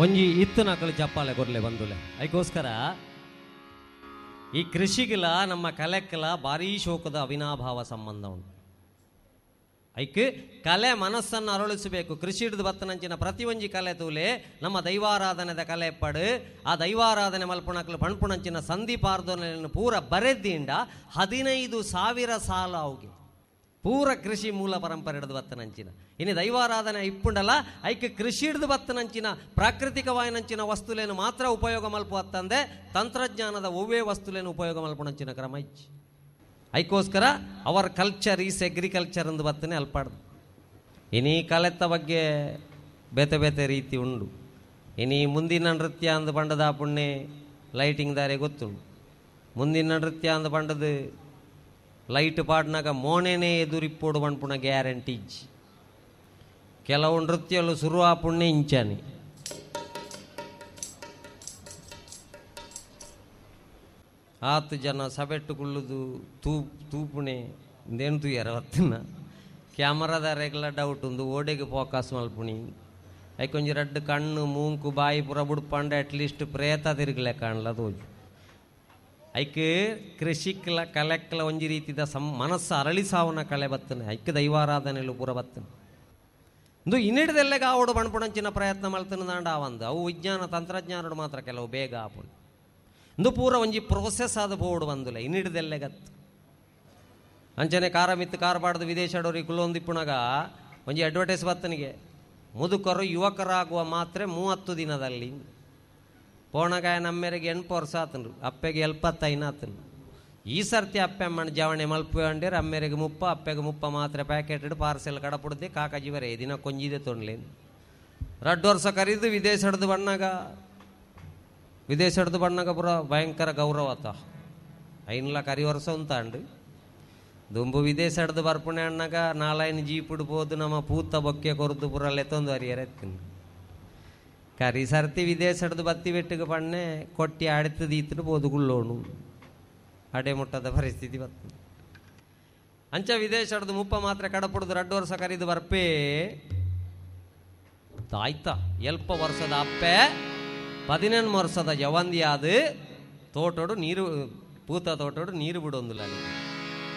ಒಂಜಿ ಇತ್ತನಕಲು ಚಪ್ಪಾಳೆ ಕೊರ್ಲೆ ಬಂದುಲೆ. ಅದಕ್ಕೋಸ್ಕರ ಈ ಕೃಷಿಗಿಲ ನಮ್ಮ ಕಲೆಕ್ಕಲ ಭಾರೀ ಶೋಕದ ಅವಿನಾಭಾವ ಸಂಬಂಧ ಉಂಟು. ಐಕ್ ಕಲೆ ಮನಸ್ಸನ್ನು ಅರಳಿಸಬೇಕು. ಕೃಷಿ ಹಿಡಿದು ಬತ್ತನಂಚಿನ ಪ್ರತಿಯೊಂಜಿ ಕಲೆ ತೂಲೆ ನಮ್ಮ ದೈವಾರಾಧನೆದ ಕಲೆ ಪಡು. ಆ ದೈವಾರಾಧನೆ ಮಲ್ಪುಣಕ್ಲು ಪಣ್ಪುಣಂಚಿನ ಸಂಧಿಪಾರ್ದನೆಯನ್ನು ಪೂರ ಬರೆದಿಂಡ 15,000 ಸಾಲ ಅವುಗೆ ಪೂರ ಕೃಷಿ ಮೂಲ ಪರಂಪರೆ ಹಿಡಿದು ಬತ್ತನಂಚಿನ. ಇನ್ನು ದೈವಾರಾಧನೆ ಇಪ್ಪುಂಡಲ್ಲ, ಐಕ್ ಕೃಷಿ ಹಿಡಿದು ಬತ್ತನಂಚಿನ ಪ್ರಾಕೃತಿಕವಾಯಿನಂಚಿನ ವಸ್ತುಲೇನು ಮಾತ್ರ ಉಪಯೋಗ ಮಲ್ಪು ಅತ್ತಂದೆ ತಂತ್ರಜ್ಞಾನದ ಒವ್ವೇ ವಸ್ತುಲೇನು ಉಪಯೋಗ ಮಲ್ಪುಣಂಚಿನ ಕ್ರಮ ಇಚ್ಚಿ. ಐಕೋಸ್ಕರ ಅವರ್ ಕಲ್ಚರ್ is agriculture ಎಂದು ಬತ್ತನೆ ಅಲ್ಪಾಡ್ದು. ಇನಿ ಕಲೆತ್ತ ಬಗ್ಗೆ ಬೇತೆ ಬೇತೆ ರೀತಿ ಉಂಡು. ಇನಿ ಮುಂದಿನ ನೃತ್ಯ ಅಂದು ಪಂಡದ ಪುಣ್ಯ ಲೈಟಿಂಗ್ ದಾರೆ ಗೊತ್ತುಂಡು. ಮುಂದಿನ ನೃತ್ಯ ಅಂದು ಪಂಡದು ಲೈಟ್ ಪಾಡ್ನಾಗ ಮೋನೆನೇ ಎದುರಿಪ್ಪೋಡು ಪನ್ಪುಣ ಗ್ಯಾರಂಟಿ ಇಜ್ಜಿ. ಕೆಲವು ನೃತ್ಯಲು ಶುರು ಆ ಪುಣ್ಯ ಇಂಚಾನೆ. ಆತು ಜನ ಸಬೆಟ್ಟು ಕುಳ್ಳುದು ತೂಪುಣೆ ಇಂದೇನು ತೂಯರ ವತ್ತಿನ ಕ್ಯಾಮರಾದ ರೆಗ್ಲ ಡೌಟ್ ಉಂದು ಓಡೆಗೆ ಫೋಕಸ್ ಮಲ್ಪುಣಿ. ಐಕೊಂಜಿ ರಡ್ಡು ಕಣ್ಣು ಮೂಂಕು ಬಾಯಿ ಪುರ ಬುಡ್ಪಂಡ ಅಟ್ಲೀಸ್ಟ್ ಪ್ರೇತ ತಿರುಗಲೆ ಕಾಣಲ ತೋಜು. ಐಕ್ ಕೃಷಿಕ್ಲ ಕಲೆಕ್ಲ ಒಂಜಿ ರೀತಿದ ಮನಸ್ಸು ಅರಳಿಸಾವನ ಕಲೆ ಬತ್ತನೆ. ಐಕ್ ದೈವಾರಾಧನೆಲು ಪೂರ ಬತ್ತನೆ. ಇಂದು ಇನ್ನಿಡ್ದೆಲ್ಲೆಗ ಆವಡು ಬಣ್ಪುಣಂಚಿನ ಪ್ರಯತ್ನ ಮಲ್ತನ ದಾಂಡ ಆವಂದು ಅವು ವಿಜ್ಞಾನ ತಂತ್ರಜ್ಞಾನಡು ಮಾತ್ರ ಕೆಲವು ಬೇಗ ಆಪುಣು. ಇಂದು ಪೂರ ಒಂಜಿ ಪ್ರೋಸೆಸ್ ಆದ ಬೋರ್ಡ್ ಬಂದುಲ್ಲ ಇನ್ನಿಡ್ದೆಲ್ಲೆಗತ್ತು. ಅಂಚನೆ ಕಾರ ಮಿತ್ತು ಕಾರ್ ಪಾಡ್ದು ವಿದೇಶಡೋರಿ ಕುಲ್ಲೊಂದಿಪ್ಪುಣಗ ಒಂಜಿ ಅಡ್ವರ್ಟೈಸ್ ಬತ್ತನಿಗೆ ಮುದುಕರು ಯುವಕರಾಗುವ ಮಾತ್ರೆ 30 ದಿನದಲ್ಲಿ. ಪೋಣಗಾಯ ನಮ್ಮೆರೆಗೆ 8 ವರ್ಷ ಆತನು, ಅಪ್ಪೆಗೆ 75 ಆತನು. ಈ ಸರ್ತಿ ಅಪ್ಪೆ ಅಮ್ಮನ ಜವಣೆ ಮಲ್ಪು ಅಂಡೇರು ಅಮ್ಮೆರೆಗೆ 30, ಅಪ್ಪೆಗೆ 30 ಮಾತ್ರೆ ಪ್ಯಾಕೆಟ್ ಪಾರ್ಸೆಲ್ ಕಡಪುಡ್ದೆ ಕಾಕಾಜಿ ಬರೇ ದಿನ ಕೊಂಜಿದೆ ತೊಂಡ್ಲೇನು. 2 ವರ್ಷ ಕರೀದು ವಿದೇಶ ಹಿಡ್ದು ಬಣ್ಣಾಗ, ವಿದೇಶ ಹಿಡ್ದು ಬಣ್ಣಾಗ ಪುರ ಭಯಂಕರ ಗೌರವ ಆತ. ಐನ್ಲ ಕರಿ ವರ್ಷ ಉಂತಾಂಡು ದುಂಬು ವಿದೇಶ ಹಿಡ್ದು ಬರ್ಪುಣೆ ಅಣ್ಣಾಗ 4 ಜೀಪ್ ಇಡ್ಬೋದು ನಮ್ಮ ಪೂತ ಬೊಕ್ಕೆ ಕೊರದು ಪುರ ಲೆತ್ತೊಂದು ಹರಿಯರ ಎತ್ತಿನ. ಕರಿ ಸರ್ತಿ ವಿದೇಶ ಹಿಡ್ದು ಬತ್ತಿ ಬೆಟ್ಟಿಗೆ ಪಣ್ಣೆ ಕೊಟ್ಟಿ ಅಡಿತದ ಈತನು ಬೋದುಗುಳ್ಳೋಣು ಅಡೆ ಮುಟ್ಟದ ಪರಿಸ್ಥಿತಿ ಬರ್ತದೆ. ಅಂಚ ವಿದೇಶ ಹಿಡ್ದು 30 ಮಾತ್ರ ಕಡಪುಡ್ದು 2 ವರ್ಷ ಕರಿದು ಬರ್ಪೇ ತಾಯ್ತ 70 ವರ್ಷದ ಅಪ್ಪೆ 18 ವರ್ಷದ ಜವಂದಿಯಾದ ತೋಟೋಡು ನೀರು ಪೂತ ತೋಟೋಡು ನೀರು ಬಿಡೊಂದಿಲ್ಲ.